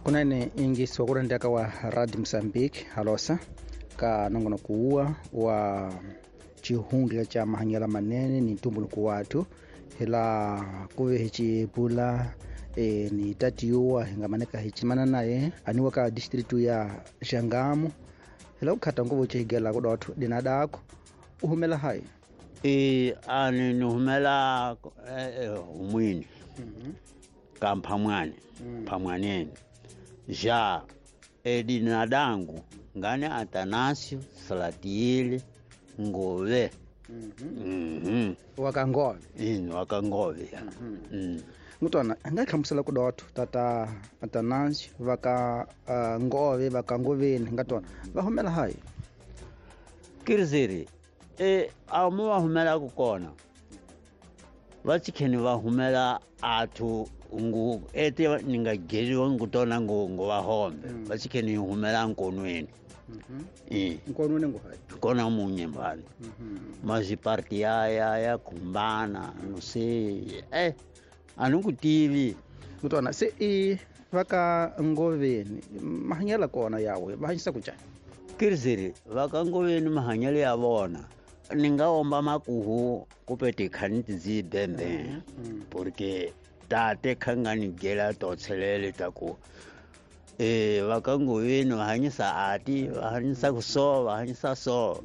Kunene ingiso ku rendeka wa Radio Mozambique halosa ka nongonoko wa wa xihundla xa mahanyelo manene ni ntumbuluko wathu hila ku ve hi xibula ni tatiwa hi nga maneka hi chimana naye aniwa ka district ya Xangamu hila ku khata nguvu chigela ku dotho dina dako u humela hayi ani ni humela humwini ka Mphamwani Mphamwaneni ja dina dangu ngane Atanasio Salatiel Ngove. Wakangove. Wakangove. Ngutwana nga hlamusela ku dotho tata Atanasio vaka Ngove vakangoveni ngatona va humela hayi kirzeri amu va humela ku kona va chikheni va humela athu ngu ete ni nga geliwa ngutona ngo va hombe va chikheni humela nkonweni. Nkonweni ngo hayi kona munye mbali maziparti ya kumbana no sei anukutivi ngutona se i vaka ngoveni mahanyela kona yawe va hanyisa ku njhani kirzeri vaka ngoveni mahanyelo ya vona ni nga omba makuhu kupete khaniti dzi bembe porque tate khangani gela totselele taku vaka ngoveni va hanyisa ati va hanyisa ku so va hanyisa so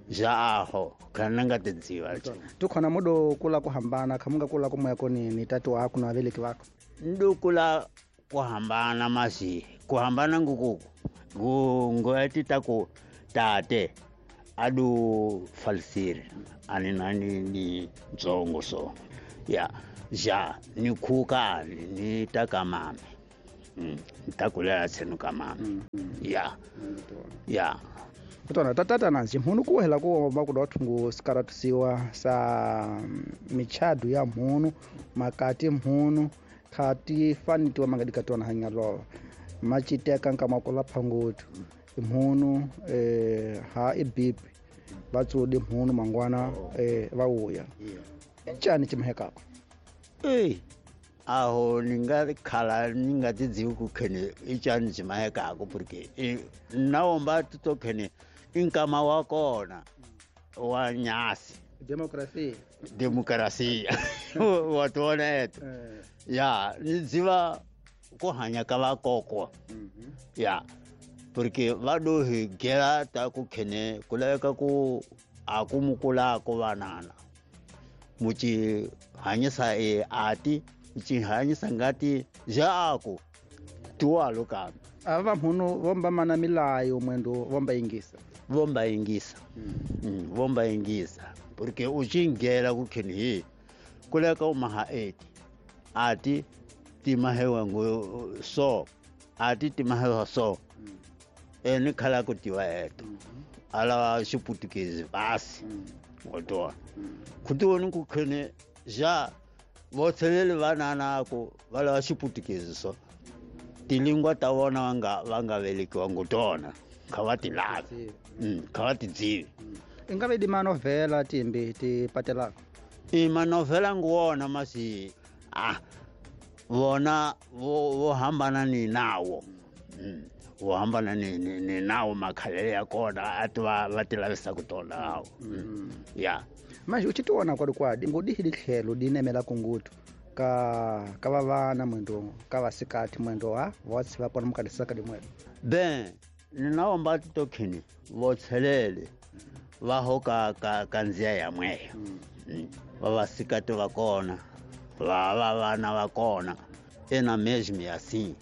ja aho khana nga tidziva tukhona mudo kula ku hambana khamunga kula ku moya koni ni tati wako na veleki vako ndukula ku hambana masi ku hambana nguku ngo ta ku tate adu falsiri ani nani ni ntsongo so ya ja ni khuka ni ta mame ni ta kulela tsenu ka mame ya ya kutona tatata nanzi mhunu ku hela ku va ku dothu ngu sikaratusiwa sa michadu ya mhunu makati mhunu khati fanitiwa mangadikatona hanyalova machiteka nkama kula phangotu mhunu ha ibipi vatsudi mhunu mangwana va uya njani chimhekako aho ninga khala ninga tidzivi ku khene icani chimahekako porque naomba titokhene inkama wa kona wa nyasi demokrasia watona eto ya ni dziva ku hanya ka vakokwa ya porque va do hi gela ta ku khene ku laveka ku a ku mukulako vanana muchi hanyisa ati muchi hanyisa ngati jaku tuwalo kambe ava mhunu vomba mana milayo mwendo vomba ingisa vomba ingisa porque uchingela ku khene hi ku laveka u maha eti ati timahewa ngo so ati timahewa so ni khala ku tiva eto ala xiputukezi basi watona kutiwoni ku khene ja votheleli vanana ku va lava xiputukezi so tilingwa ta vona va nga velekiwa ngutona kha va ti lavi kha va ti dzivi i nga ve di manovhela timbi ti patelaka i manovhela nguwona masi vona vo hambana ni nawo vo hambana ni nawo makhalele ya kona ati va ti lavisa ku tona awo ya manje u chitiwona kwadi ngodihi litlhelo di nemela kungutu ka vavana mwendo ka vasikati mwendo wa votse va kona mukadisaka dimwelo ben ni naomba titokhini vothelele va ho ka ndziya ya mweyo va vasikati va kona va vana va kona ena mesmo assim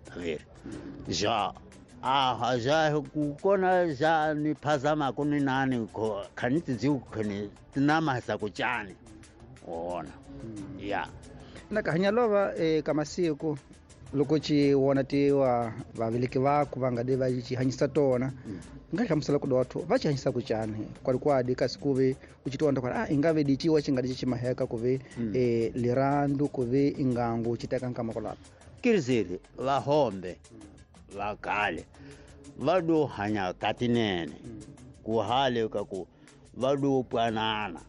tá ver já já ku kona já ni phazama ku ni nani ko khaniti dziu khani tinamasa ku chani ona ya na ka hanyalova ka masiku loko ci wona tiwa vaveleki vako va nga de va ci hanyisa tona nga hlamusela ku dotho va ci hanyisa ku chani kwalikwadi kasi ku ve u ci tiwona kwala i nga ve diciwa ci nga di ci maheka ku ve lirandu ku ve ingangu ci teka nkama kolapa kirzeri va hombe va kale va do hanya katinene ku hale ka ku va do pwanana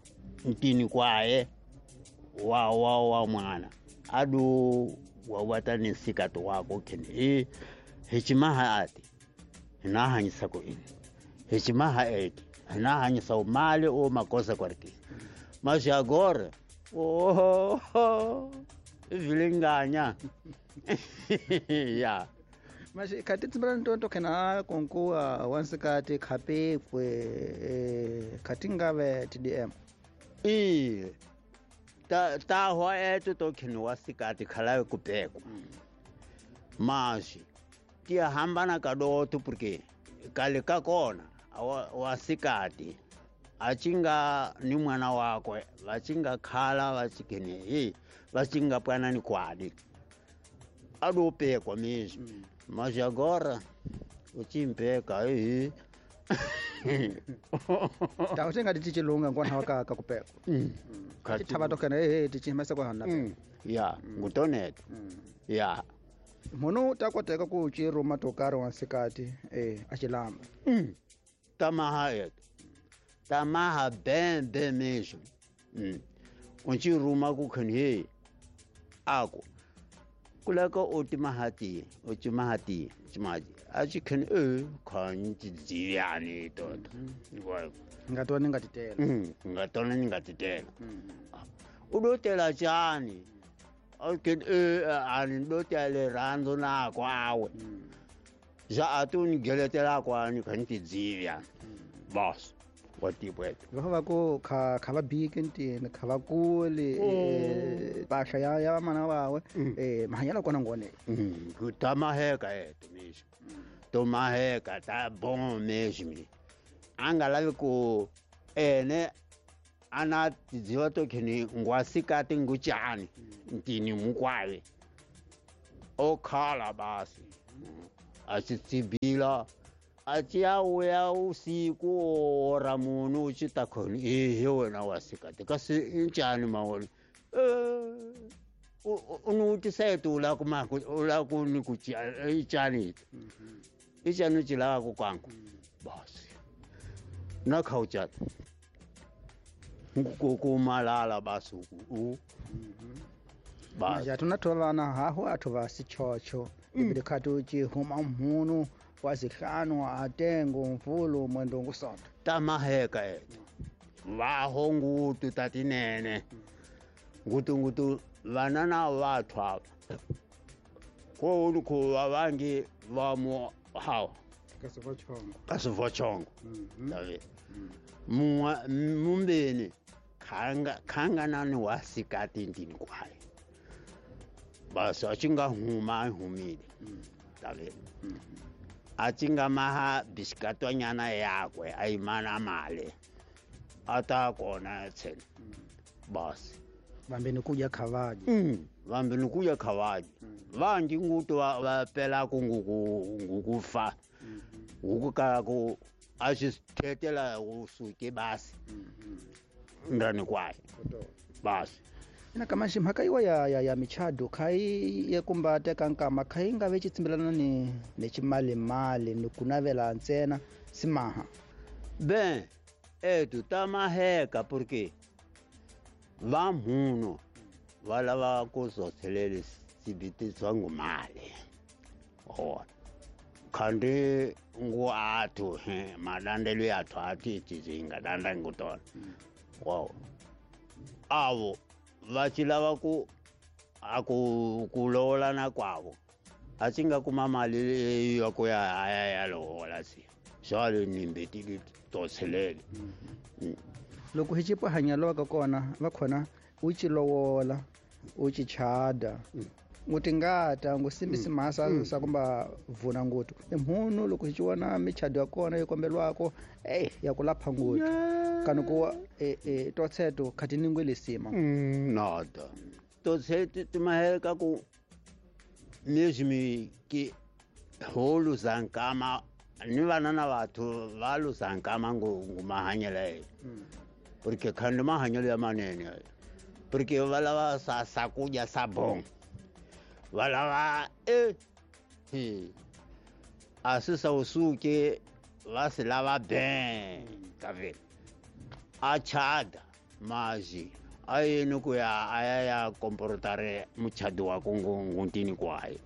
ntini kwaye wa mwana adu wa ta ni nsikati wako kheni i hi cimaha ati hi na hanyisa ku ini hi cimaha eti hi na hanyisa u mali o makosa kwariki mas agora oh vilinganya ya mas khati tsimbela ntonto khena konkuwa wansikati khapekwe khati ngave TDM i ta ho eto to kheni wasikati khalawe kupekwa mas tiyahambana kadoto porque kale ka kona wasikati achinga ni mwana wakwe vachinga khala vachikene e vachinga pwanani kwadi adopekwa mesmo mas agora uchimpeka e tautenga tichilunga ngona waka kakupekwa tithava tokena e tichimesa kwa hana ya ngutoneto ya munhu ta koteka ku ciruma to karhi wansikati a xilamba tamaha eto tamaha bem bem mesmo unciruma ku khani he ako kulaka o timahati o timahati timaji a ci khani e khani tidziyani toto nga tona nga titela nga tona nga titela u do tela chani okay ani do tele rando na kwawe ja atuni geletela kwani khani tidzivya boss wa tipo va va ku kha kha va biki ntini kha va kuli mpahla ya mana wawe mahanyelo kona ngone ku tamaheka eto mesmo tomaheka ta bom mesmo a nga lavi ku ene ana tidziva to kheni ngwasikati nguchani ntini mukwave o khala basi a xi tsibila a ciya wuya usiku ora munhu u ci ta khoni ehe wena wasikati kasi i ncani mawona u ni vutisa eti u lava ku ma u lava ku ni ku i cani i cani u ci lavaka kwangu basi na kha u cata ku malala basi u basi athu vana haho athu va sichocho ibili khati u ci huma mhunu wa zihlanu atengo mvulu mwendo ngusonto tamaheka eto vaho ngutu tatinene ngutu ngutu vana na vathu ava ko ulu ku vavangi va mu hawa kasivochongo tavi mumbeni khanganani wa sikati ndini kwaye basi achinga huma humile tavi achinga maha bisikatwanyana yakwe ayimana mali ata kona tsena basi vambeni kuja khavaji vambeni kuja khavaji vanji ngutu va pela ku ngukufa ngukukala ku a xi thetela usuke basi ndani kwaye basi ina kamaxi mhaka yiwa ya michado khai ya kumba teka nkama khai nga ve xitsimbelana ni ximalimali ni ku navela ntsena simaha ben etu tamaheka porque va munhu va lava ku zothelele sibiti ngumali ona khandi ngu athu malandelo yathu athi tizinga danda ngutona wow avo va ci lava ku a ku lowolana kwavo a ci nga kuma mali ya ku ya ya lowola si swale nimbe ti totselele loko hi cipa hanyelo ka kona va khona u ci lowola u ci chada ngutingata ngusimbisi mhasa sa kumba vuna ngutu imhunu loko hi ciwona michado ya kona yi kombelwako ya ku lapha ngutu kani ku totseto khati ningwe lesima nada totseto timaheka ku mesmo que holu zankama ni vana na vathu va luzankama ngumahanyelo porque khandi mahanyelo ya manene porque va lava sa sakudya sa bom va lava a swi sa usuke va swi lava ben ka vele a chada mazi A yini ku ya a ya ya komporotare muchadi wa ku nguntini kwayo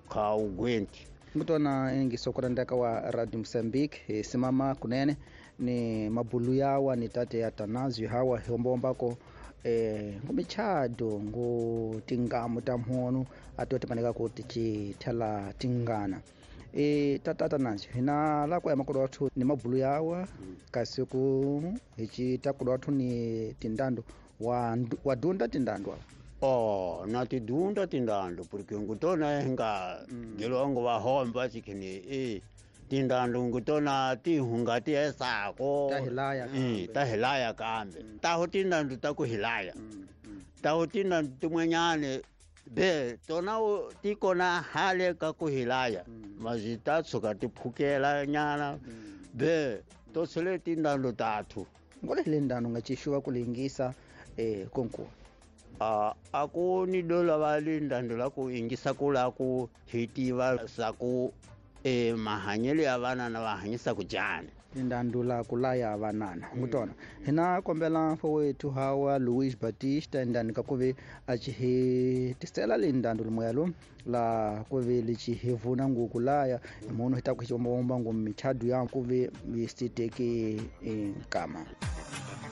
kha ugwenti. Ngutona ingisokurandaka wa Radio Mozambique hi simama kunene ni mabulu yawa ni tate ya Tanazio hawa hiomboombako ngumichado ngu tingamu ta mhono atotipaneka kuti chithala tingana. Tata Tanazio hina la ku ya makodo wathu ni mabulu yawa kasi ku hichita kodo wathu ni tindando wa dunda tindando. Oh, na tidunda tindando porque ngutona hinga gelongo va homba chikhini tindando ngutona ti hunga ti esako ta hilaya kambe. Ta hilaya kambe taho tindando ta ku hilaya taho tindando tin'wanyani be tona ti kona hale ka ku hilaya mazi ta tshuka ti phukela nyana be to sele tindando tathu ngole le ndano nga chixuva ku lingisa konku. A ku ni dola va le ndando la ku ingisa ku la ku hitiva sa ku mahanyelo ya vanana va hanyisa ku njhani tindando la ku laya vanana ngutona hina kombela mfo wethu hawa Luis Batista ndani ka kuve a chi tisela le ndando limwelo la kuve li hivuna nguku laya munhu hita ku xiomba ngu michadu ya kuve misiteke nkama.